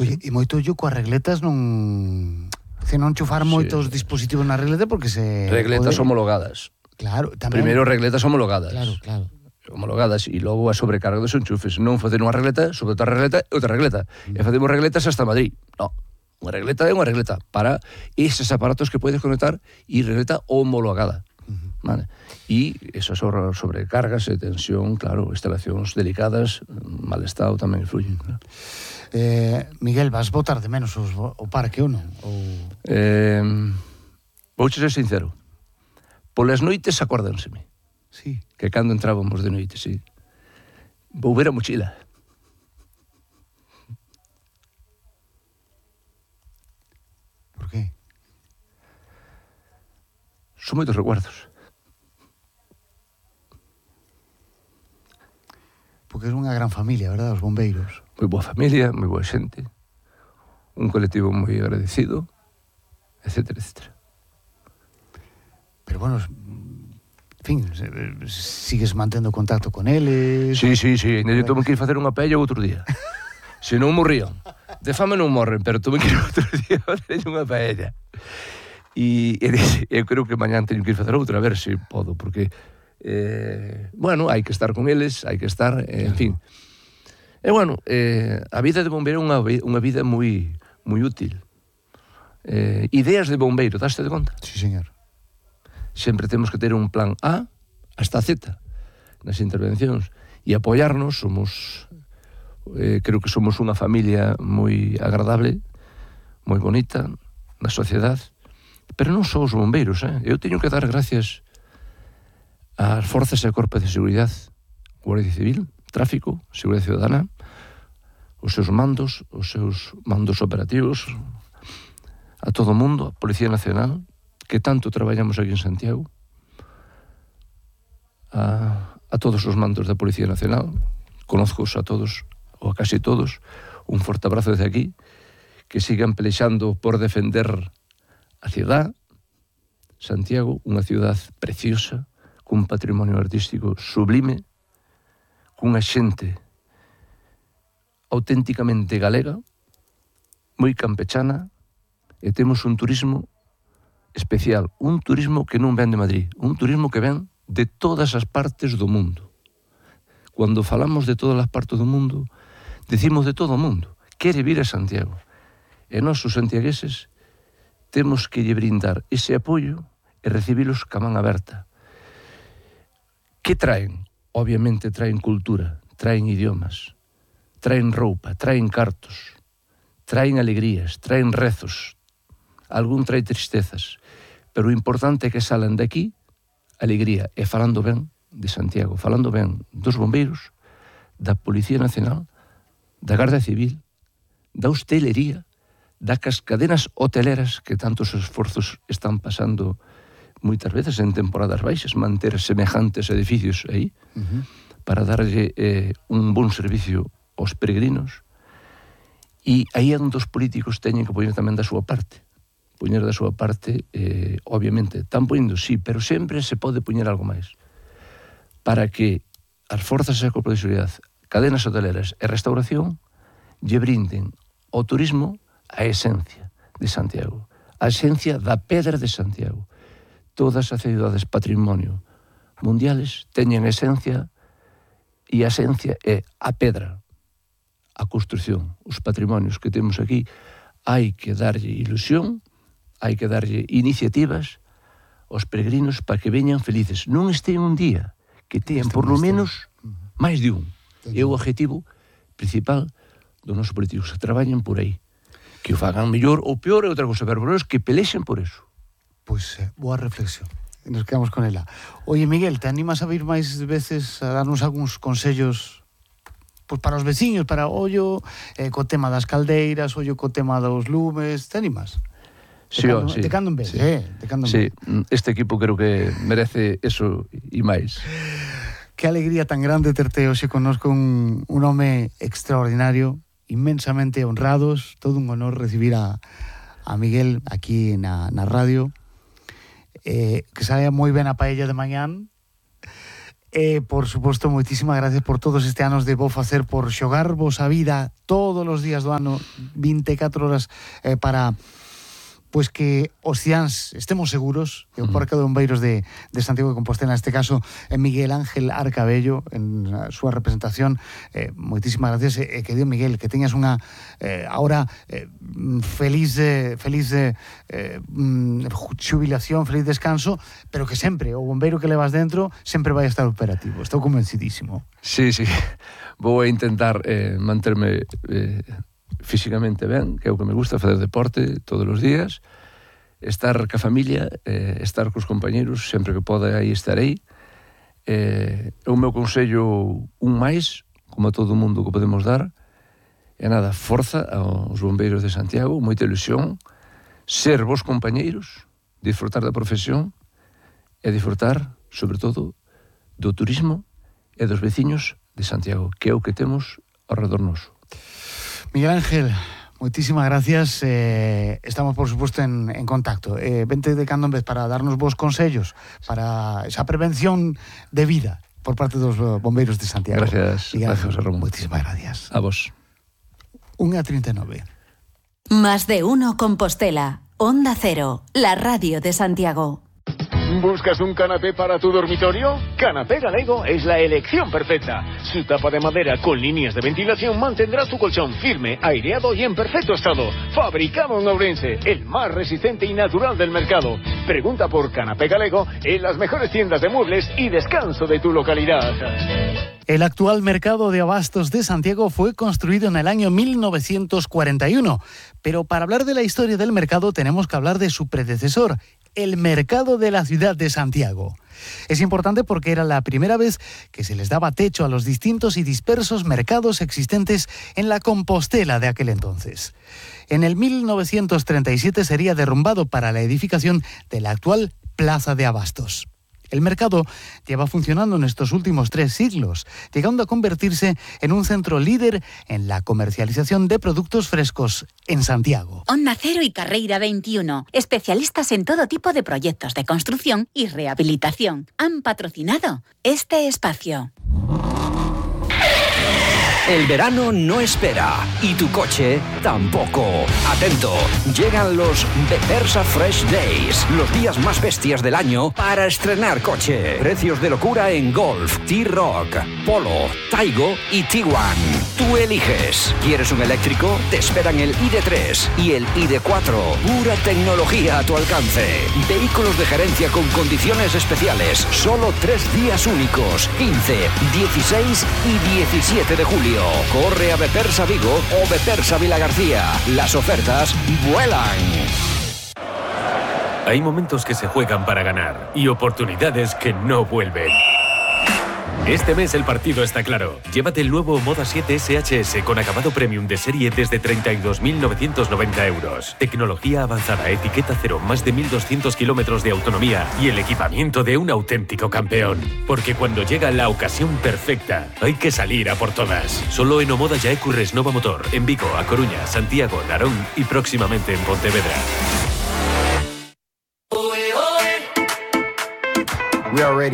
Oye, e moito ollo coas regletas non... Se non chufar moitos dispositivos na regleta porque se... Regletas homologadas. Claro, tamén... Primeiro regletas homologadas. Claro. Homologadas e logo a sobrecarga dos enchufes. Non facer unha regleta sobre outra regleta e outra regleta. E facemos regletas hasta Madrid. Non. Unha regleta é unha regleta para eses aparatos que podes conectar e regleta homologada. Vale. E esas sobrecargas e tensión, claro, instalacións delicadas, mal estado tamén influyen. Miguel, vas botar de menos o parque ou non? Vouche ser sincero. Polas noites acórdenseme. Sí. Que cando entrábamos de noite, sí. Vou ver a mochila. Por qué? Son moitos recuerdos. Porque é unha gran familia, verdad, os bombeiros? Moi boa familia, moi boa xente. Un colectivo moi agradecido, etcétera, etcétera. Pero bueno, en fin, sigues mantendo contacto con eles? Sí. Ainda eu tuve que ir facer unha paella outro día. Se non morrían. De fame non morren, pero tuve que ir outro día a facer unha paella. E eu creo que mañán teño que ir facer outra, a ver se podo, porque bueno, hai que estar con eles, hai que estar, en fin. E bueno, a vida de bombeiro é unha vida moi útil. Ideas de bombeiro, daste de conta? Sí, señor. Sempre temos que ter un plan A hasta Z nas intervencións e apoiarnos. Creo que somos unha familia moi agradable, moi bonita na sociedade, pero non só os bombeiros, eu teño que dar gracias ás forzas e corpos de seguridade, Guardia Civil, Tráfico, Seguridade Ciudadana, os seus mandos operativos, a todo o mundo, a Policía Nacional, que tanto traballamos aquí en Santiago, a todos os mandos da Policía Nacional, conozcos a todos, ou a casi todos, un forte abrazo desde aquí, que sigan pelexando por defender a cidade, Santiago, unha cidade preciosa, cun patrimonio artístico sublime, cunha xente auténticamente galega, moi campechana, e temos un turismo especial, un turismo que non ven de Madrid, un turismo que ven de todas as partes do mundo. Cando falamos de todas as partes do mundo, decimos de todo o mundo, quere vir a Santiago. E nós, os santiagueses, temos que lle brindar ese apoio e recibilos ca man aberta. Que traen? Obviamente traen cultura, traen idiomas, traen roupa, traen cartos, traen alegrías, traen rezos, algún trae tristezas, pero o importante é que salan de aquí alegría, e falando ben de Santiago, falando ben dos bombeiros, da Policía Nacional, da Garda Civil, da hostelería, das cadenas hoteleras que tantos esforzos están pasando moitas veces en temporadas baixas, manter semejantes edificios aí, para darlle un bon servicio aos peregrinos. E aí é onde os políticos teñen que poñer tamén da súa parte. Poñer da súa parte, obviamente, están poñendo, sí, pero sempre se pode poñer algo máis. Para que as forzas e corpos de seguridade, cadenas hoteleras e restauración lle brinden ao turismo a esencia de Santiago, a esencia da pedra de Santiago. Todas as cidades patrimonio mundiales teñen esencia, e a esencia é a pedra, a construción, os patrimonios que temos aquí. Hai que darlle ilusión, hai que darlle iniciativas aos peregrinos para que veñan felices. Non estean un día, que tean por lo menos máis de un. É o objetivo principal dos nosos políticos, que traballen por aí. Que o fagan mellor ou peor é outra cosa, pero que pelexen por eso. Pois, boa reflexión. Nos quedamos con ela. Oye, Miguel, te animas a vir máis veces a darnos algúns consellos pois para os veciños, para ollo co tema das caldeiras, ollo co tema dos lumes, te animas? Sí. De cando en vez, de cando en vez. Sí, este equipo creo que merece eso e máis. Que alegría tan grande terte hoxe connosco, un home extraordinario, inmensamente honrados, todo un honor recibir a Miguel aquí na radio. Que saia moi ben a paella de mañán, por suposto, moitísimas gracias por todos este anos de vos facer, por xogarvos a vida todos os días do ano, 24 horas para pois que os ciáns estemos seguros, que o Parque de Bombeiros de Santiago de Compostela, neste caso Miguel Ángel Arcabello, en a súa representación, moitísimas gracias, e que Dios, Miguel, que teñas unha ahora feliz xubilación, feliz descanso, pero que sempre o bombeiro que levas dentro sempre vai estar operativo, estou convencidísimo. Sí, vou a intentar manterme físicamente ben, que é o que me gusta, fazer deporte todos os días, estar ca familia, estar cos compañeros, sempre que poda aí estarei. O meu consello un máis, como a todo o mundo que podemos dar, é nada, forza aos bombeiros de Santiago, moita ilusión, ser vos compañeiros, disfrutar da profesión e disfrutar, sobre todo, do turismo e dos veciños de Santiago, que é o que temos ao redor noso. Miguel Ángel, moitísimas gracias, estamos por suposto en contacto, vente de cando en vez para darnos vos consellos para esa prevención de vida por parte dos bombeiros de Santiago. Gracias, gracias Ramón. Moitísimas gracias. A vos. 1:39. Más de uno Compostela, Onda Cero, la radio de Santiago. ¿Buscas un canapé para tu dormitorio? Canapé Galego es la elección perfecta. Su tapa de madera con líneas de ventilación mantendrá tu colchón firme, aireado y en perfecto estado. Fabricado en Ourense, el más resistente y natural del mercado. Pregunta por Canapé Galego en las mejores tiendas de muebles y descanso de tu localidad. El actual mercado de abastos de Santiago fue construido en el año 1941, pero para hablar de la historia del mercado tenemos que hablar de su predecesor, el mercado de la ciudad de Santiago. Es importante porque era la primera vez que se les daba techo a los distintos y dispersos mercados existentes en la Compostela de aquel entonces. En el 1937 sería derrumbado para la edificación de la actual Plaza de Abastos. El mercado lleva funcionando en estos últimos 3 siglos, llegando a convertirse en un centro líder en la comercialización de productos frescos en Santiago. Onda Cero y Carreira 21, especialistas en todo tipo de proyectos de construcción y rehabilitación, han patrocinado este espacio. El verano no espera y tu coche tampoco. Atento, llegan los Bepersa Fresh Days, los días más bestias del año para estrenar coche. Precios de locura en Golf, T-Roc, Polo, Taigo y Tiguan. Tú eliges. ¿Quieres un eléctrico? Te esperan el ID3 y el ID4. Pura tecnología a tu alcance. Vehículos de gerencia con condiciones especiales. Solo 3 días únicos. 15, 16 y 17 de julio. Corre a Bepersa Vigo o Bepersa Vilagarcía. Las ofertas vuelan. Hay momentos que se juegan para ganar y oportunidades que no vuelven. Este mes el partido está claro. Llévate el nuevo Moda 7 SHS con acabado premium de serie desde 32.990 euros. Tecnología avanzada, etiqueta cero, más de 1.200 kilómetros de autonomía y el equipamiento de un auténtico campeón. Porque cuando llega la ocasión perfecta, hay que salir a por todas. Solo en Omoda Yaecu Resnova Motor, en Vigo, A Coruña, Santiago, Narón y próximamente en Pontevedra. We are ready.